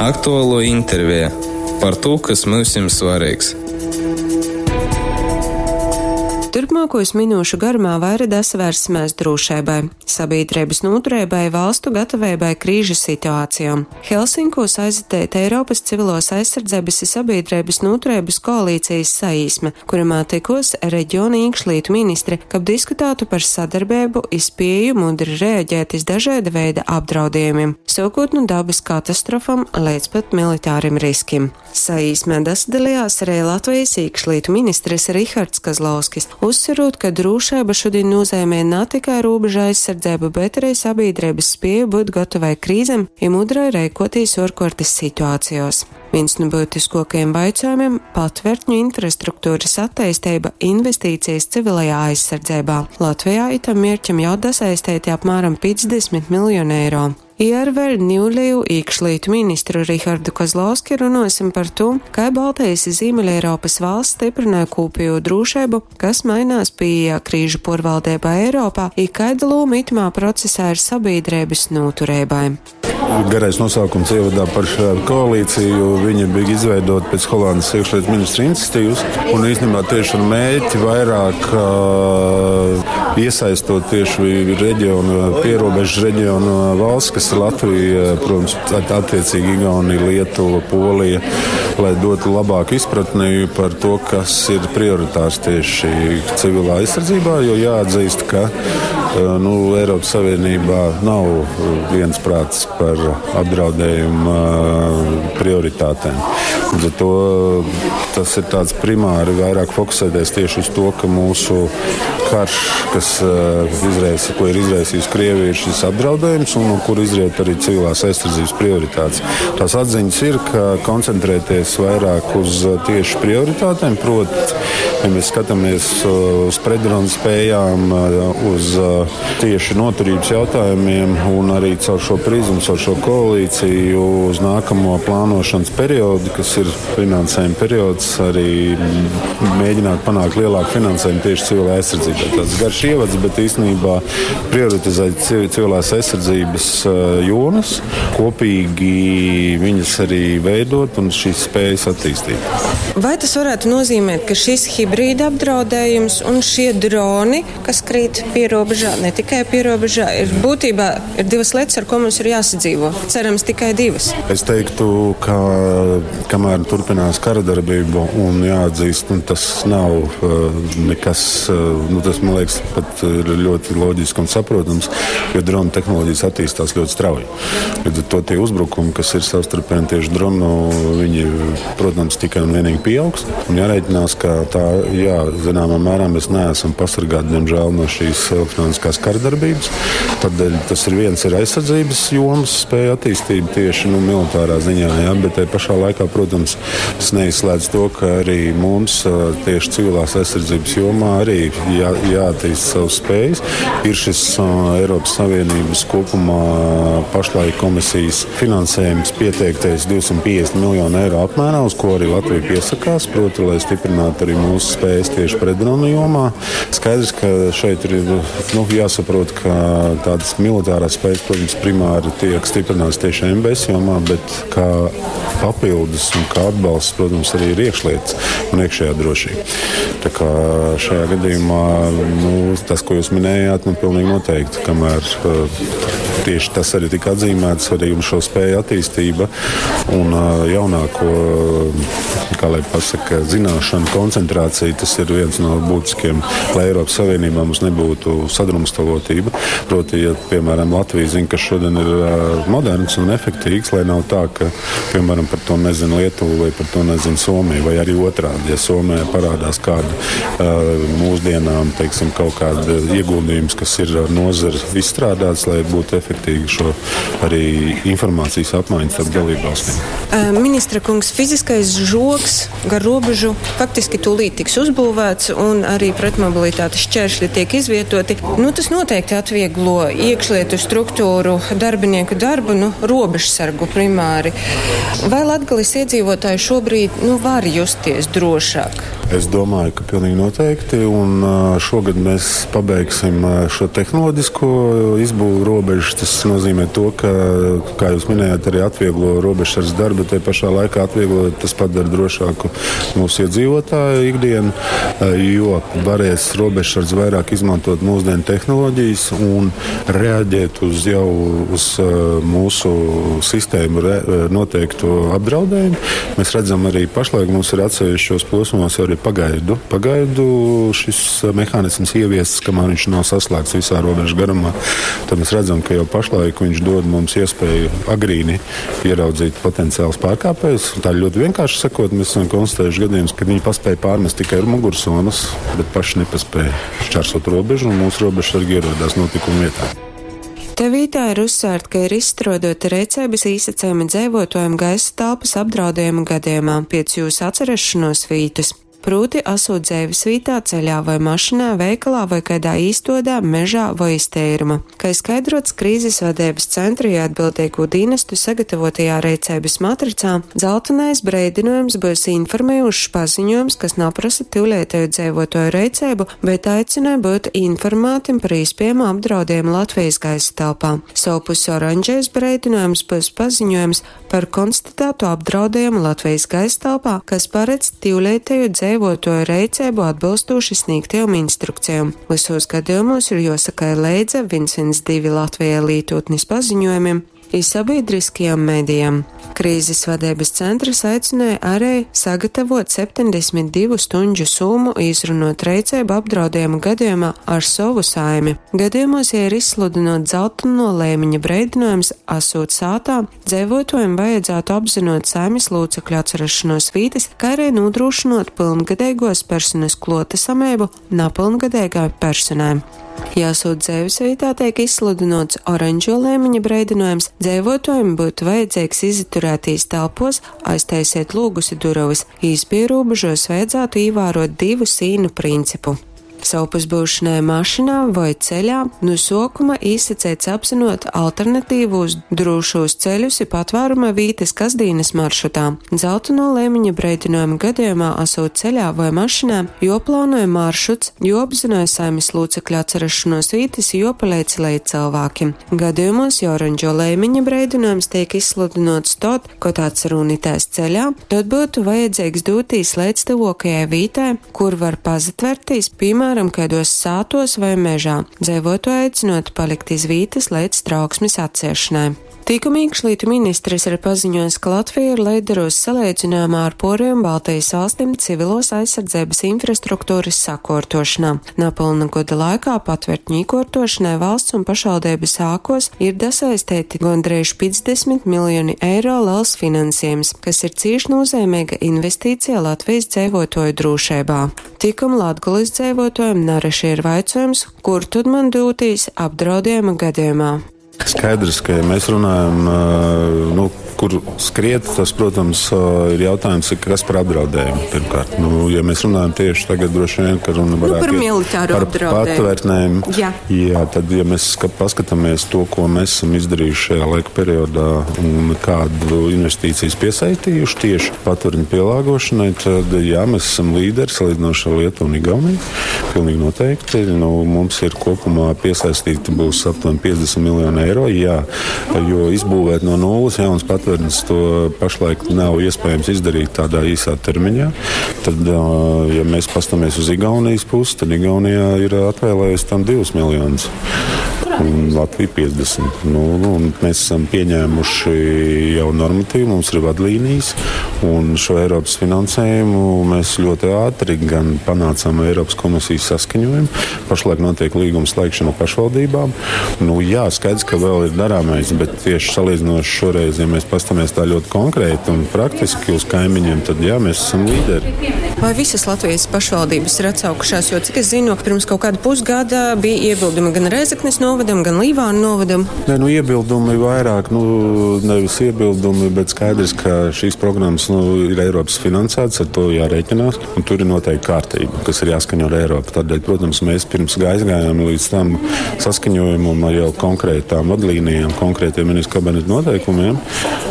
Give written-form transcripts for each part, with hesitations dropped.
Aktualuo interveja par tū, kas myusim svareigs. Turpmuokūs minūšu garumā vaira dasavērsimēs drūšeibai, sabīdreibys nūtureibai i valstu gataveibai krīžu situācijom. Helsinkūs aizateita Eiropys Civiluos aizsardzeibys i sabīdreibys nūtureibys koalīcejis saīsme, kurymā tykuos regiona īkšlītu ministri, kab diskutātu par sadarbeibu i spieju mudri reaģēt iz dažaida veida apdraudiejumim, suokūt nu dabys katastrofom leidz pat militārim riskim. Saīsmē dasadalejās ari Latvejis īkšlītu ministrs Rihards Kozlovskis, uzsverūt, ka drūšeiba šudiņ nūzeimej na tikai rūbeža aizsardzeibu, bet ari sabīdreibys spieju byut gotovai krīzem i mudrai reikuotīs uorkuortys situacejuos. Vīns nu byutiskuokajim vaicuojumim, patvertņu infrastrukturys atteisteiba, investīcijas civilajā aizsardzeibā. Latvejā itam mierķam jau dasaisteiti apmāram 50 miljoni eiro. I ar vēļ niulejū īkšlītu ministru Rihardu Kozlovski runuosim par tū, kai Baltejis i Zīmeļeiropys valsts styprynoj kūpejū drūšeibu, kas mainās pīejā krīžu puorvaldeibā Eiropā i kaida lūma itymā procesā ir sabīdreibys nūtureibai. Garais nosaukums ievadā par šādu koalīciju. Viņa bija izveidota pēc Holandes iekšlietu ministra iniciatīvas un īstenībā tieši ar mērķi vairāk iesaistot tieši reģionu, pierobežu reģionu valsts, kas ir Latvija, protams, attiecīgi Igaunija, Lietuva, Polija, lai dotu labāku izpratni par to, kas ir prioritārs tieši civilā aizsardzībā, jo jāatzīst, ka nu, Eiropas Savienībā nav viensprāts par apdraudējuma prioritātēm. Līdz ar to tas ir tāds primāri vairāk fokusēties tieši uz to, ka mūsu karš, kas izraisa, ko ir izraisījusi Krievija, ir šis apdraudējums un no kura izriet arī civilās aizsardzības prioritātes. Tās atziņas ir, ka koncentrēties vairāk uz tieši prioritātēm, proti, ja mēs skatāmies uz pretdronu spējām, uz tieši noturības jautājumiem un arī caur šo prizmu, caur šo koalīciju uz nākamo plānošanas periodu, kas ir finansējuma periods, arī mēģināt panākt lielāku finansējumu tieši civilai aizsardzībai. Tāds garš ievads, bet īstenībā prioritizēt civilās aizsardzības jomas, kopīgi viņas arī veidot un šīs spējas attīstīt. Vai tas varētu nozīmēt, ka šis hibrīda apdraudējums un šie droni, kas krīt pierobežā, ne tikai pierobežā, ir būtībā ir divas lietas, ar ko mums ir jāsadzīvo? Cerams, tikai divas. Es teiktu, ka kamēr turpinās kara darbība un jāatzīst, nu, tas nav nekas, nu, tas, man liekas, pat ir ļoti loģiski un saprotams, jo dronu tehnoloģijas attīstās ļoti strauji. Līdz ar to tie uzbrukumi, kas ir savstarpēji tieši dronu, viņi, protams, tikai un vienīgi pieaugs. Un jārēķinās, ka tā, jā, zināmā mērā mēs neesam pasargāti, diemžēl, no šīs elektroniskās karadarbības. Tādēļ tas ir viens ir aizsardzības jomas spēja attīstība tieši, nu, militārā ziņā, jā, bet tai pašā laikā, protams, tas neizslēdz to, ka arī mums tieši civilās aizsardzības jomā arī jāattīst savas spējas. Ir šis Eiropas Savienības kopumā pašlaik komisijas finansējums pieteiktais 250 miljonu eiro apmērā, uz ko arī Latvija piesakās, proti, lai stiprinātu arī mūsu spējas tieši pretdronu jomā. Skaidrs, ka šeit ir, nu, jāsaprot, ka tādas militārās spējas, protams, primāri tiek stiprināts tieši MBS jomā, bet kā papildus un kā atbalsts, protams, arī ir iekšlietas un iekšējā drošība. Tā kā šajā gadījumā, nu, tas, ko jūs minējāt, nu, pilnīgi noteikti, kamēr tieši tas arī tika atzīmēts, arī un šo spēju attīstība un jaunāko, kā lai pasaka, zināšanu koncentrācija, tas ir viens no būtiskiem, lai Eiropas Savienībā mums nebūtu sadrumstalotība. Proti, ja, piemēram, Latvija zina, kas šodien ir moderns un efektīvs, lai nav tā, ka, piemēram, par to nezina Lietuva vai par to nezina Somija, vai arī otrādi, ja Somijā parādās kāda mūsdienām, teiksim, kaut kāda ieguldījums, kas ir ar nozari izstrādāts, lai būtu efektīgi šo arī informācijas apmaiņu starp dalībvalstīm. Ministra kungs, fiziskais žogs gar robežu faktiski tūlīt tiks uzbūvēts un arī pretmobilitātes šķēršļi tiek izvietoti. Nu, tas noteikti atvieglo iekšlietu struktūru darbinieku darbu. darbu, nu, robežsargu primāri. Vai Latgales iedzīvotāji šobrīd, nu, var justies drošāk? Es domāju, ka pilnīgi noteikti. Un šogad mēs pabeigsim šo tehnoloģisko izbūvu robežas. Tas nozīmē to, ka, kā jūs minējāt, arī atvieglo robežsardzes darbu, te pašā laikā atvieglo, tas padara drošāku mūsu iedzīvotāju ikdienu, jo varēs robežsardze vairāk izmantot mūsdienu tehnoloģijas un reaģēt uz jau uz mūsu sistēmu noteikto apdraudējumu. Mēs redzam arī pašlaik mums ir atsevišķos posmos arī pagaidu šis mehānisms ieviests, kamēr viņš nav saslēgts visā robežu garumā. Tad mēs redzam, ka jau pašlaik viņš dod mums iespēju agrīni ieraudzīt potenciālus pārkāpējus. Tā ļoti vienkārši sakot, mēs esam konstatējuši gadījumus, kad viņi paspēja pārmest tikai ar mugursomas, bet paši nepaspēja šķērsot robežu, un mūsu robežsargi ierodās notikuma vietā. Te vītā ir uzsvērt, ka ir izstrādāta rīcības īsacējuma dzēvotājiem gaisa telpas apdraudējuma gadījumā pēc jūsu atcerešanos vītas. Proti, esot dzēves vītā, ceļā vai mašīnā, veikalā vai kādā īstodā, mežā vai iztēruma. Kā skaidrots krīzes vadības centra ja atbildīgo dienestu sagatavotajā rīcības matricā, dzeltenais breidinojums būs informējušs paziņojums, kas naprasa tyulētēju dzēvotoju rīcību, bet aicina būt informātim par īspējamu apdraudējumu Latvijas gaisa telpā. Sovpus oranžais breidinojums būs paziņojums par konstatētu apdraudējumu Latvijas gaisa telpā, kas paredz tyulētēju dzēvotoju rīcību atbilstoši sniegtajām instrukcijām. Visos gadījumos ir jāsaka leidza 112 Latvijai lītotnes paziņojumiem i sabiedriskajām medijām. Krīzes vadības centrs aicināja arī sagatavot 72 stundžu summu, izrunot rīcību apdraudējumu gadījumā ar savu saimi. Gadījumos, ja ir izsludinot dzelteno lēmiņa breidinojums, esot sātā, dzēvotājiem vajadzētu apzinot saimes locekļu atcerašanos vītes, kā arī nodrošinot pilngadīgos personas klotesamību napilngadīgai personai. Jāsūt dzēves vietā tiek izsludinots oranžo lēmiņa breidinojums, dzēvotājiem būtu vajadzīgs izaturētīs telpos, aiztaisiet lūgus i durovas. Īspierobežos vajadzētu ievērot divu sīnu principu. Savpus būšanai mašīnā vai ceļā no sokuma īsacēts apzinot alternatīvos drošos ceļus i patvēruma vītes kasdīnas maršrutā. Dzelteno lēmiņa breidinojuma gadījumā esot ceļā vai mašīnā, joplānoja maršruts, joapzināja saimes locekļu atcerašanos vītes, jopalīdz leidz cilvēkiem. Gadījumos, ja oranžo lēmiņa breidinojums tiek izsludinots tot, ko tāds runitēs ceļā, tad būtu vajadzīgs dūtīs līdz tuvākajai vītai, kur var pazatvertīs, piemēram, kādos sātos vai mežā, dzēvotu aicinot palikt iz vītas līdz trauksmes atciešanai. Tikuma iekšlietu ministrs ir paziņojis, ka Latvija ir līderos salīdzinājumā ar Poriju un Baltijas valstīm civilos aizsardzības infrastruktūras sakortošanā. Napilna gada laikā patvērtņu īkortošanai valsts un pašvaldības sākos ir dasaistēti gondrīz 50 miljoni eiro liels finansējums, kas ir cīši nozīmīga investīcija Latvijas dzēvotoju drošībā. Tikuma Latgulis dzēvotojiem nareši ir vaicojums, kur tad man dūtīs apdraudējuma gadījumā. Skaidrs, ka, ja mēs runājam, nu, kur skriet, tas, protams, ir jautājums, kas par apdraudējumu pirmkārt. Nu, ja mēs runājam tieši tagad, droši vien, ka runa varētu nu, par militāru par apdraudējumu. Patvērtnēm. Jā. Jā, tad, ja mēs paskatāmies to, ko mēs esam izdarījuši šajā laika periodā un kādu investīcijas piesaistījuši tieši patvērtņu pielāgošanai, tad, jā, mēs esam līderi salīdzinoši ar Lietuvu un Igauniju. Pilnīgi noteikti. Nu, mums ir kopumā piesaistīti būs aptuveni 50 miljoni eiro, jā, jo izbūvēt no nulles jaunas patvērtnes to pašlaik nav iespējams izdarīt tādā īsā termiņā. Tad, ja mēs pastamies uz Igaunijas pusi, tad Igaunijā ir atvēlējusi tam 2 miljonus. Un Latvija 50. Nu, un mēs esam pieņēmuši jau normatīvu, mums ir vadlīnijas, un šo Eiropas finansējumu mēs ļoti ātri gan panācām Eiropas komisijas saskaņojumu. Pašlaik notiek līguma slēgšana pašvaldībām. Nu, jā, skaidrs, ka vēl ir darāmais, bet tieši salīdzinoši šoreiz, ja mēs pastamies tā ļoti konkrēti un praktiski uz kaimiņiem, tad jā, mēs esam līderi. Vai visas Latvijas pašvaldības ir atsaukušās? Jo, cik es zinu, pirms kaut kāda pusgada bija iebildumi gan Rēzeknes novada novadam, gan Līvānu novadam? Nē, nu, iebildumi vairāk, nu, nevis iebildumi, bet skaidrs, ka šīs programmas, nu, ir Eiropas finansētas, ar to jārēķinās, un tur ir noteikti kārtība, kas ir jāskaņo ar Eiropu. Tādēļ, protams, mēs pirms aizgājām līdz tam saskaņojumam ar jau konkrētām vadlīnijām, konkrētiem ministru kabineta noteikumiem.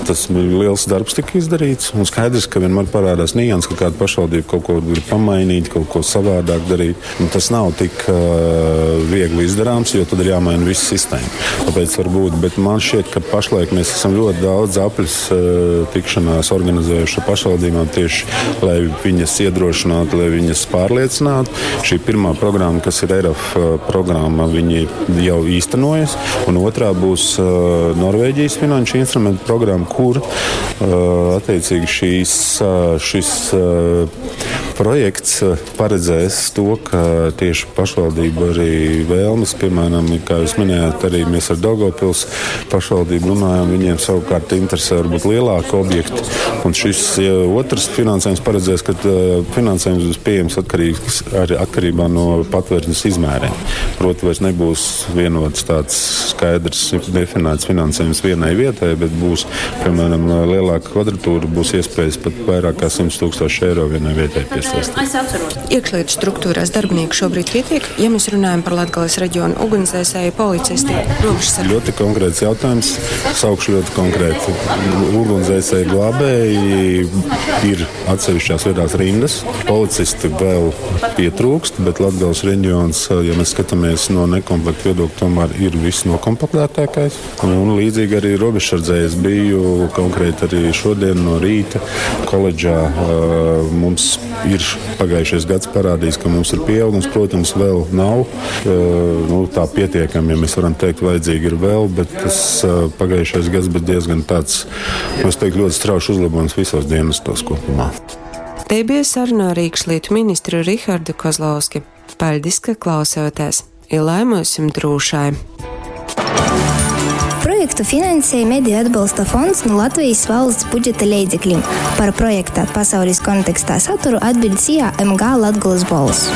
Tas liels darbs tika izdarīts, un skaidrs, ka vienmēr parādās nianses, ka kāda pašvaldība kaut ko grib pamainīt, kaut ko savādāk darīt. Un tas nav tik viegli izdarāms, jo tad ir jāmaina visa sistēma. Tāpēc varbūt, bet man šķiet, ka pašlaik mēs esam ļoti daudz apļus tikšanās organizējuši ar pašvaldībām tieši, lai viņas iedrošinātu, lai viņas pārliecinātu. Šī pirmā programma, kas ir ERAF programma, viņi jau īstenojas, un otrā būs Norvēģijas finanšu instrumentu programma, kur attiecīgi šīs, šis projekts paredzēs to, ka tieši pašvaldību arī vēlmes, piemēram, kā jūs minējāt, arī mēs ar Daugavpils pašvaldību runājam, viņiem savukārt interesē varbūt lielāki objekti. Un šis otrs finansējums paredzēs, ka finansējums būs pieejams atkarīgs, arī atkarībā no patvērsmes izmēriem. Proti, vairs nebūs vienots tāds skaidrs definēts finansējums vienai vietai, bet būs, piemēram, lielāka kvadratūra, būs iespējas pat vairāk kā 100 tūkstoši eiro vienai vietai piesaistīt. Iekšlietu struktūrās darbinieku šobrīd pietiek, ja mēs runājam par Latgales reģionu ugunsdzēsēju, policistiem, robežsardzi. Ļoti konkrēts jautājums. Saukšu ļoti konkrēti. Ugunsdzēsēji, glābēji ir atsevišķās vietās rindas. Policisti vēl pietrūkst, bet Latgales reģions, ja mēs skatāmies no nekomplektu viedokļa, tomēr ir viss nokomplektētākais. Un līdzīgi arī robežsardzē es biju konkrēti arī šodien no rīta koledžā. Mums ir pagājušais gads parādījis, ka mums ir pieaugums. Protams, vēl nav nu, tā pietiekami, ja mēs varam teikt, vajadzīgi ir vēl, bet tas pagājušais gads bija diezgan tāds, nu, es teiktu, ļoti strauji uzlabojums visos dienestos kopumā. Te bija saruna ar iekšlietu ministru Rihardu Kozlovski. Paļdis, ka klausāties! I lai mums drūšai! Projektu finansēja Mediju atbalsta fonds no Latvijas valsts budžeta leidzekļiem. Par projekta pasaules kontekstā saturu atbild SIA MG Latgulas Bols.